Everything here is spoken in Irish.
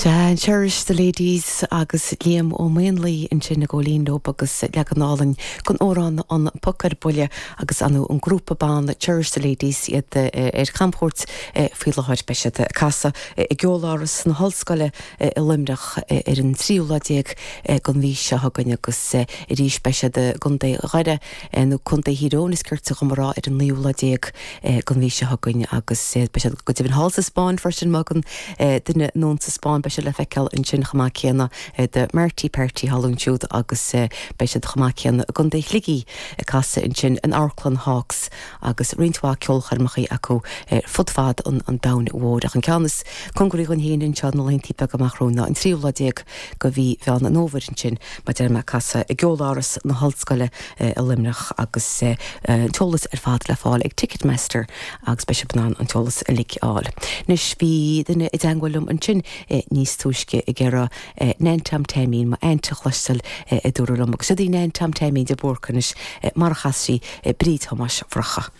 Sea, Cherish the Ladies agus Liam Ó Maonlaí ansin ag gabháil fhoinn leo agus leagan álainn den amhrán An Poc ar Buile agus ar ndóigh an grúpa ban Cherish the Ladies iad ar camchuairt faoi láthair. Beidh siad ag casadh i gCeoláras na hOllscoile i Luimneach ar an tríú lá déag den mhí seo chugainn agus arís beidh siad i gContae Dhoire nó Contae Thír Eoghain is cirte dhom a rá ar an naoú lá déag den mhí seo chugainn agus beidh siad go deimhin thall sa Spáinn freisin má thagann duine anonn sa Spáinn beidh siad le feiceáil ansin chomh maith céanna The Marty Party thall ansiúd agus beidh siad chomh maith céanna i gContae Shligigh ag casadh ansin in Amharclann Hawks agus roinnt mhaith ceolchoirmeacha acu fud fad an domhain mhóir. Ach an ceann is cóngaraí dhúinn féin anseo na laethanta beaga amach romhainn ná an tríú lá déag de mhí Mheán an Fhómhair ansin mar a deir mé ag casadh i gCeoláras na hOllscoile i Luimneach agus an t-eolas ar fad le fáil ag Ticketmaster agus beidh sibh in ann an t-eolas uilig a fháil. Anois bhí duine i dteangmháil liom ansin níos túisce ag iarraidh Nan Tom Taimín, mo aint a chloisteáil a dúradh liom agus siod í Nan Tom Taimín de Búrca anois mar a chas sí Bríd Thomáis Mhurchadha.